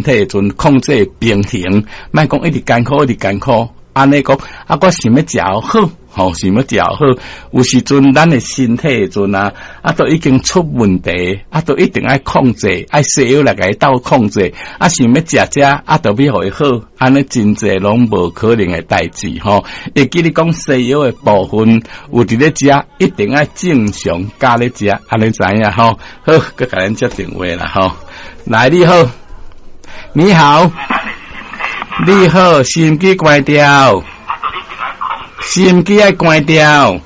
體的陣控制平衡，莫講一直艱苦，一直艱苦。按呢講，啊，我想欲食好，吼，想欲食好。有時陣咱的身體的陣啊，啊，都已經出問題，啊，都一定愛控制，愛西藥來共伊鬥控制。啊，想欲食這，啊，都欲予伊好，按呢真濟攏無可能的代誌吼。會記你講西藥的部分有佇咧食，一定愛正常加咧食，按呢知影吼。好，閣共咱接電話啦吼。來，你好，你好。你好，收音機關掉，收音機愛關掉，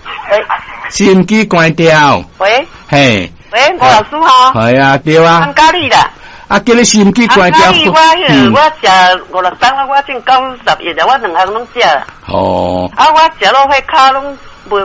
收音機關掉。喂，嘿，喂，吳老師吼。係啊，對啊。安嘉麗啦。啊，叫你收音機關掉。我彼個我食五六冬啦，我進91啦，我兩項攏食。哦。啊，我食落彼跤攏無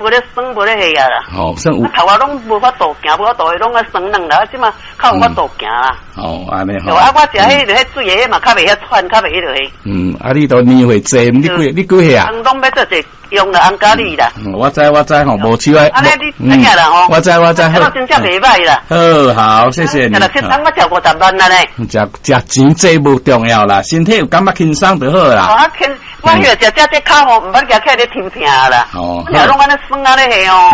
咧酸，無咧彼啊啦。哦，算有。頭仔攏無法度行，無法度，攏愛酸軟啦，這馬較有法度行啦。哦，按呢吼。啊，我食彼個彼水的，彼嘛較袂遐喘，較袂彼落去。嗯，啊，你都年歲濟，你幾歲啊？攏欲做者用啦，安嘉麗啦。我知我知吼，無手愛。按呢你知影啦吼。我知我知。我真正袂䆀啦。好，好，謝謝你。食六七冬，我食50萬啦呢。食食錢這無重要啦，身體有感覺輕鬆就好啦。哦，啊輕，我彼個食這這跤吼，毋捌舉起來咧抽疼啦。哦。我攏按呢酸按呢彼哦。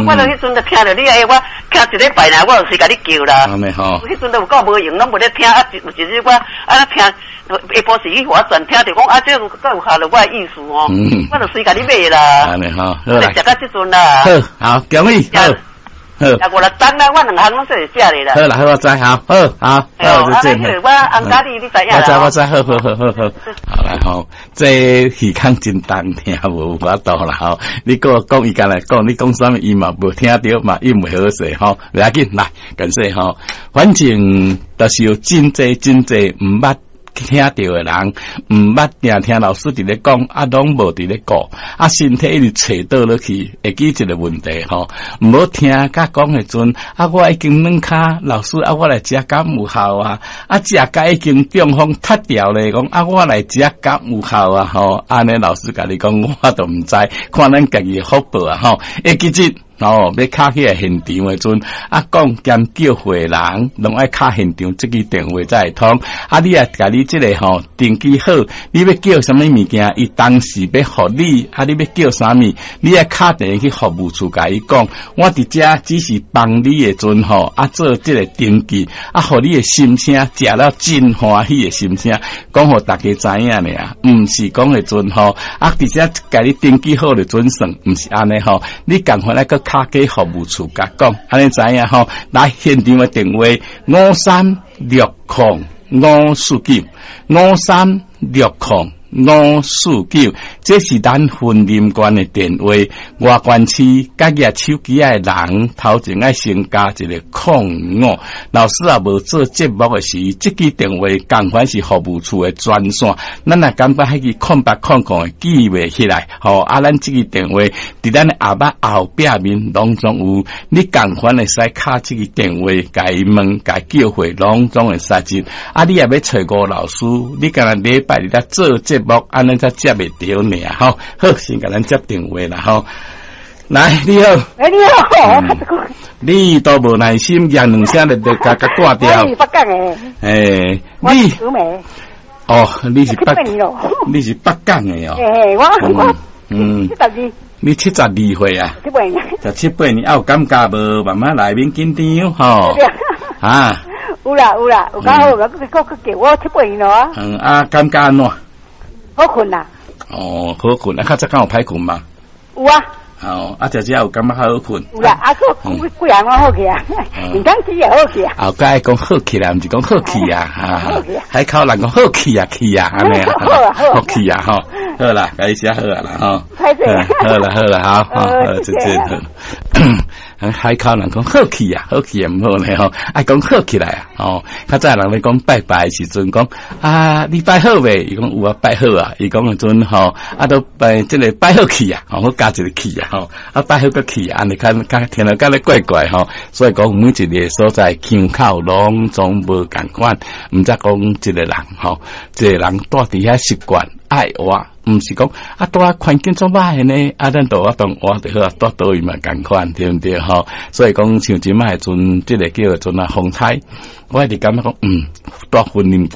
我就彼陣就聽著你的，我徛一禮拜爾，我就隨共你叫啦。按呢吼。彼陣都有夠無閒，攏無咧聽啊！有一日我按呢聽，下晡時去予我轉聽著講啊，這個閣有合著我的意思哦。我就隨共你買啦。按呢吼，好啦。食到這陣啦。好，好，恭喜。好。好。食五六冬啦，我兩項攏算會食的啦。好啦，好我知，好，好，好，就這。我紅咖喱，你知影啦。我知，我知，好好好好好，好啦吼，這耳孔真重，聽無法度啦吼。你閣講伊敢來講，你講啥物伊嘛無聽著嘛，伊袂好勢吼。袂要緊，來，感謝吼。反正就是有真濟真濟毋捌聽著的人，毋捌定聽老師佇咧講，啊，攏無佇咧顧，啊，身體一直揣倒落去，會記一個問題吼，毋好聽甲講的陣，啊，我已經軟跤，老師啊，我來食敢有效啊？啊，食甲已經中風脫掉咧，講啊，我來食敢有效啊？吼，按呢老師共你講，我都毋知，看咱家己的福報啊，吼，會記得。哦，欲敲起來現場的陣，啊，講兼叫會人，攏愛敲現場，這支電話才會通。啊，你也共你這個吼登記好，你欲叫啥物物件，伊當時欲予你，啊，你欲叫啥物，你愛敲電話去服務處共伊講。我佇遮只是幫你的陣吼，啊，做這個登記，啊，予你的心聲食了真歡喜的心聲，講予大家知影爾，毋是講的陣吼，啊，佇遮共你登記好就準算，毋是按呢吼，你共款愛閣敲給服務處共講，按呢知影吼？來現場的電話5360549，5360549，這是咱雲林縣的電話。外縣市佮舉手機的人，頭前愛先加一個空五。老師也無做節目的時，這支電話仝款是服務處的專線。咱若感覺彼支0800會記袂起來，吼啊，咱這支電話佇咱的後擺後壁面攏總有，你仝款會使敲這支電話，共伊問，共伊叫貨，攏總會使接。啊，你若欲揣吳老師，你敢若禮拜日來做節目，按呢才接會著爾吼。好，先共咱接電話啦吼。來，你好。欸，你好，你都無耐心，講兩聲就共共掛掉。我是北港的。欸，你。哦，你是北港的哦。欸，我72。你72歲啊？七八年。十七八年，啊有感覺無？慢慢來，免緊張吼。啊。有啦有啦，有較好，閣閣叫我七八年咯啊。嗯啊，感覺按怎？好睏啦。哦，好睏啊！較早敢有歹睏嗎？有啊。哦，啊，食食有感覺較好睏。有啦，啊，閣幾幾項攏好起啊，毋通吃也好起啊。後蓋講好起來，毋是講好起啊，哈。海口人講好起啊，起啊，按呢啊。好起啊，吼，好啦，共你食好啊啦，吼。好啦，好啦，好，好，再見。海口人講好起啊，好起也毋好呢吼，愛講好起來啊，吼。較早人咧講拜拜的時陣講啊，你拜好未？伊講有啊，拜好啊。伊講的陣吼，啊都拜這個拜好去啊，吼，閣加一個去啊，吼，啊拜好閣去啊，按呢較較聽著敢若怪怪吼。所以講每一个所在腔口攏總無仝款，毋則講一個人吼，一個人蹛佇遐習慣愛活。毋是講啊，蹛環境足歹的呢，啊，咱就我當活就好啊，蹛佗位嘛仝款，對毋對吼？所以講像這擺的陣，這個叫做啊風颱，我一直感覺講，蹛雲林。